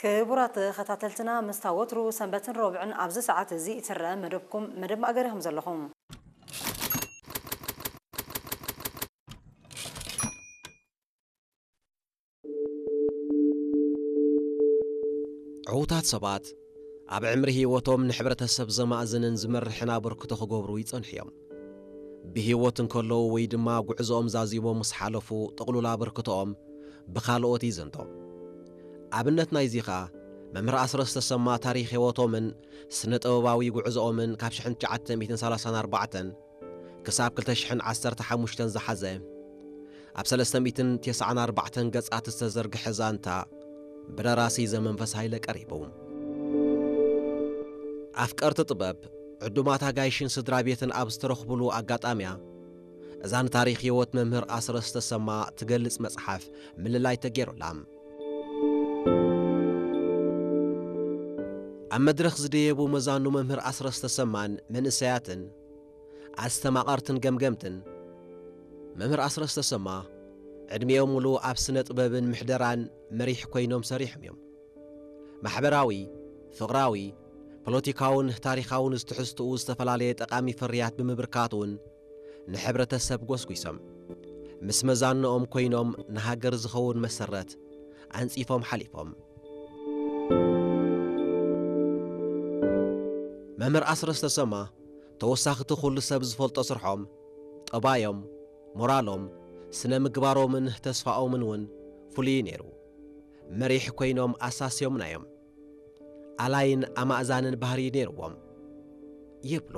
ክቡራት ተኸታተልትና፣ ምስታ ወትሩ ሰንበትን ረቡዕን ኣብዚ ሰዓት እዚ እትረአ መደብኩም፣ መደብ ማእገር ኢኹም ዘለኹም። ዕዉታት ሰባት ኣብ ዕምሪ ህይወቶም ንሕብረተሰብ ዘማእዝንን ዝመርሕን ኣበርክቶ ክገብሩ ይጸንሑ እዮም። ብህይወት እንከለዉ ወይ ድማ ጉዕዞኦም ዛዚሞም ምስ ሓለፉ፣ ጥቕሉል ኣበርክቶኦም ብኻልኦት ይዘንቶ። ኣብነት ናይዚ ኸኣ፣ መምህር ኣስረስ ተሰማ ታሪኽ ህይወቶምን ስነ-ጥበባዊ ጉዕዞኦምን ካብ ሽሕን ትሽዓተ ሚእትን ሰላሳን ኣርባዕተን ክሳብ ክልተ ሽሕን ዓሰርተ ሓሙሽተን ዝሓዘ፣ ኣብ ሰለስተ ሚእትን ተስዓን ኣርባዕተን ገጻት ዝተዘርግሐ ዛንታ ብደራሲ ዘመንፈስ ሃይለ ቀሪቡ። ኣፍቀርቲ ጥበብ፣ ዕዱማት ኣጋይሽን ስድራ ቤትን ኣብ ዝተረኽቡሉ ኣጋጣሚያ፣ እዛ ንታሪኽ ህይወት መምህር ኣስረስ ተሰማ ትገልጽ መጽሓፍ ምልላይ ተገይሩላ። ኣብ መድረኽ ዝደየቡ መዛኑ መምህር ኣስረስ ተሰማን መንእሰያትን ኣስተማቐርትን ገምገምትን፣ መምህር ኣስረስ ተሰማ ዕድሚኦም ሙሉ ኣብ ስነ ጥበብን ምሕደራን መሪሕ ኮይኖም ሰሪሖም እዮም። ማሕበራዊ፣ ፍቕራዊ፣ ፖለቲካውን ታሪኻውን ትሕዝትኡ ዝተፈላለየ ጠቓሚ ፍርያት ብምብርካት እውን ንሕብረተሰብ ጎስጒሶም፣ ምስ መዛንኦም ኮይኖም ንሃገር ዝኸውን መሰረት ኣንጺፎም ሓሊፎም። መምህር ኣስረስ ተሰማ፣ ተወሳኺ እቲ ኩሉ ሰብ ዝፈልጦ ስርሖም፣ ጠባዮም፣ ሞራሎም፣ ስነ ምግባሮምን ተስፋኦምን እውን ፍሉይ ነይሩ። መሪሕ ኮይኖም ኣሳስዮምና እዮም። ኣላይን ኣማእዛንን ባህሪ ነይርዎም ይብሉ።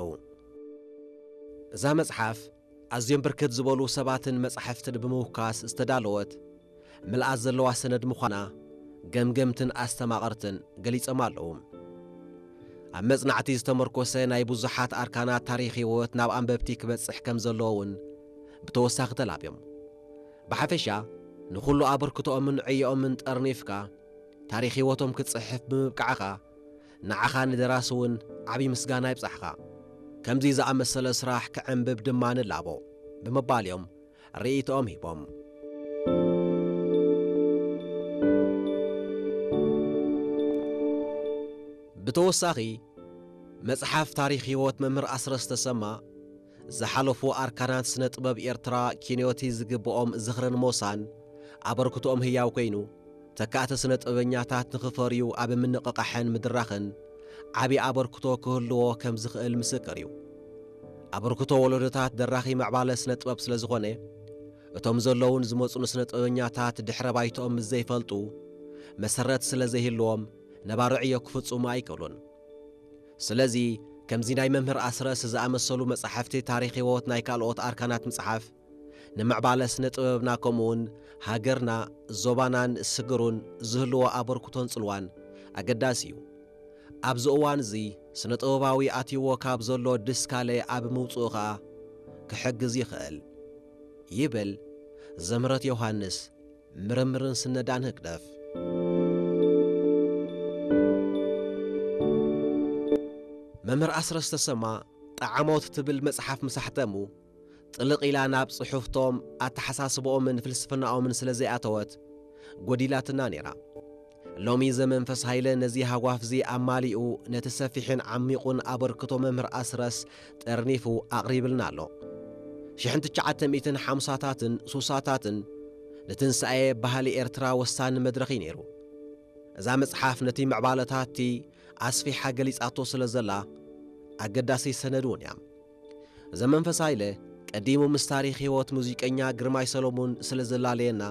እዛ መጽሓፍ ኣዝዮም ብርክት ዝበሉ ሰባትን መጻሕፍትን ብምውካስ ዝተዳለወት፣ ምልኣት ዘለዋ ሰነድ ምዃና ገምገምትን ኣስተማቐርትን ገሊጾም ኣለዉ። ኣብ መጽናዕቲ ዝተመርኮሰ ናይ ብዙሓት ኣርካናት ታሪኽ ህይወት ናብ ኣንበብቲ ክበጽሕ ከም ዘለዎ እውን ብተወሳኺ ተላብዮም። ብሓፈሻ፣ ንኹሉ ኣበርክቶኦምን ዕዮኦምን ጠርኒፍካ፣ ታሪኽ ህይወቶም ክትጽሕፍ ብምብቃዕኻ፣ ንዓኻ ንደራሲ እውን ዓቢ ምስጋና ይብጻሕኻ። ከምዚ ዝኣመሰለ ስራሕ ክዕንብብ ድማ ንላቦ፣ ብምባል እዮም ርእይቶኦም ሂቦም። ብተወሳኺ፣ መጽሓፍ ታሪኽ ህይወት መምህር ኣስረስ ተሰማ፣ ዝሓለፉ ኣርካናት ስነ ጥበብ ኤርትራ ኪንዮቲ ዝግብኦም ዝኽርን ሞሳን ኣበርክቶኦም ህያው ኮይኑ፣ ተካእቲ ስነ ጥበበኛታት ንኽፈርዩ ኣብ ምንቕቓሕን ምድራኽን ዓቢ ኣበርክቶ ክህልዎ ከም ዝኽእል ምስክር እዩ። ኣበርክቶ ወለዶታት ደራኺ ምዕባለ ስነ ጥበብ ስለ ዝኾነ፣ እቶም ዘለዉን ዝመጹን ስነ ጥበበኛታት ድሕረ ባይትኦም ምስ ዘይፈልጡ፣ መሰረት ስለ ዘይህልዎም፣ ነባሪ ዕዮ ክፍጽሙ ኣይክእሉን። ስለዚ፣ ከምዚ ናይ መምህር ኣስረስ ዝኣመሰሉ መጻሕፍቲ ታሪኽ ህይወት ናይ ካልኦት ኣርካናት ምጽሓፍ፣ ንምዕባለ ስነ ጥበብና ከምኡውን ሃገርና፣ ዞባናን ስግሩን ዝህልዎ ኣበርክቶን ጽልዋን ኣገዳሲ እዩ። ኣብዚ እዋን እዚ ስነ ጥበባዊ ኣትይዎ ካብ ዘሎ ድስካለ ኣብ ምውጽኡ ኸኣ ክሕግዝ ይኽእል፣ ይብል ዘምህረት ዮሃንስ፣ ምርምርን ስነዳን ህግደፍ። መምህር ኣስረስ ተሰማ፣ ጠዓሞት ትብል መጽሓፍ ምስ ኣሕተሙ፣ ጥልቕ ኢላ ናብ ጽሑፍቶም፣ ኣተሓሳስብኦምን ፍልስፍናኦምን ስለ ዘይኣተወት፣ ጎዲላትና ነይራ። ሎሚ ዘመንፈስ ሃይለ ነዚ ሃጓፍዚ ኣማሊኡ፣ ነቲ ሰፊሕን ዓሚቑን ኣበርክቶ መምህር ኣስረስ ጠርኒፉ ኣቕሪብልና ኣሎ። ሽሕን ትሽዓተ ሚእትን ሓምሳታትን ሱሳታትን ንትንሳኤ ባህሊ ኤርትራ ወሳኒ መድረኽ እዩ ነይሩ። እዛ መጽሓፍ ነቲ ምዕባለታትቲ ኣስፊሓ ገሊጻቶ ስለ ዘላ፣ ኣገዳሲ ሰነድ እውን እያ። ዘመንፈስ ሃይለ ቀዲሙ ምስ ታሪኽ ህይወት ሙዚቀኛ ግርማይ ሰሎሙን ስለ ዘላለየና፣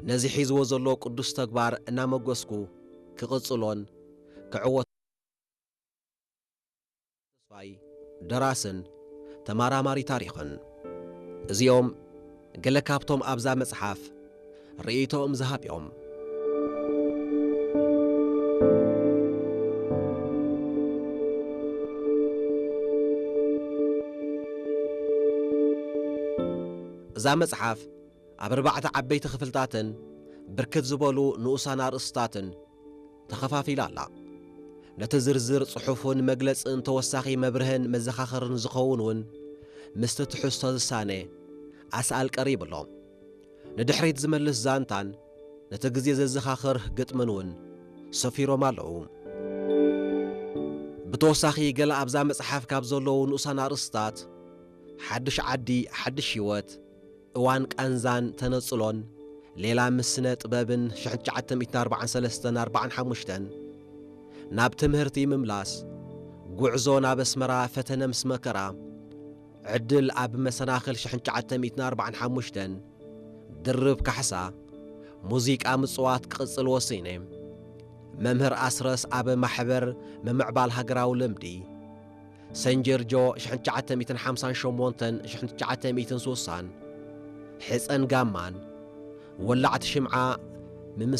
ነዚ ሒዝዎ ዘሎ ቅዱስ ተግባር እናመጎስኩ ክቕጽሎን ክዕወት ተስፋይ፣ ደራስን ተማራማሪ ታሪኽን። እዚኦም ገለ ካብቶም ኣብዛ መጽሓፍ ርእይቶኦም ዝሃብዮም። እዛ መጽሓፍ ኣብ ኣርባዕተ ዓበይቲ ክፍልታትን ብርክት ዝበሉ ንኡሳን ኣርእስታትን ተኸፋፊላ ኣላ። ነቲ ዝርዝር ጽሑፍን መግለጽን ተወሳኺ መብርህን መዘኻኸርን ዝኸውን እውን ምስቲ ትሕዝቶ ዝሳነ ኣስኣል ቀሪቡ ኣሎ። ንድሕሪት ዝመልስ ዛንታን እቲ ግዜ ዘዘኻኽር ግጥምን እውን ሰፊሮም ኣለዉ። ብተወሳኺ፣ ገለ ኣብዛ መጽሓፍ ካብ ዘለዉ ንኡሳን ኣርእስታት፣ ሓድሽ ዓዲ፣ ሓድሽ ህይወት፣ እዋን ቃንዛን ተነጽሎን፣ ሌላ ምስ ስነ ጥበብን፣ ሽሕን ትሽዓተ ሚእትን ኣርባዓን ሰለስተን ኣርባዓን ሓሙሽተን፣ ናብ ትምህርቲ ምምላስ፣ ጉዕዞ ናብ ኣስመራ፣ ፈተነ ምስ መከራ፣ ዕድል ኣብ መሰናኽል ሽሕን ትሽዓተ ሚእትን ኣርባዓን ሓሙሽተን፣ ድርብ ካሕሳ፣ ሙዚቃ ምጽዋት ክቕጽል ወሲነ። መምህር ኣስረስ ኣብ ማሕበር ምምዕባል ሃገራዊ ልምዲ፣ ሰን ጀርጆ ሽሕን ትሽዓተ ሚእትን ሓምሳን ሸሞንተን ሽሕን ትሽዓተ ሚእትን ሱሳን፣ ሕጸን ጋማን፣ ወላዕቲ ሽምዓ፣ ምምስ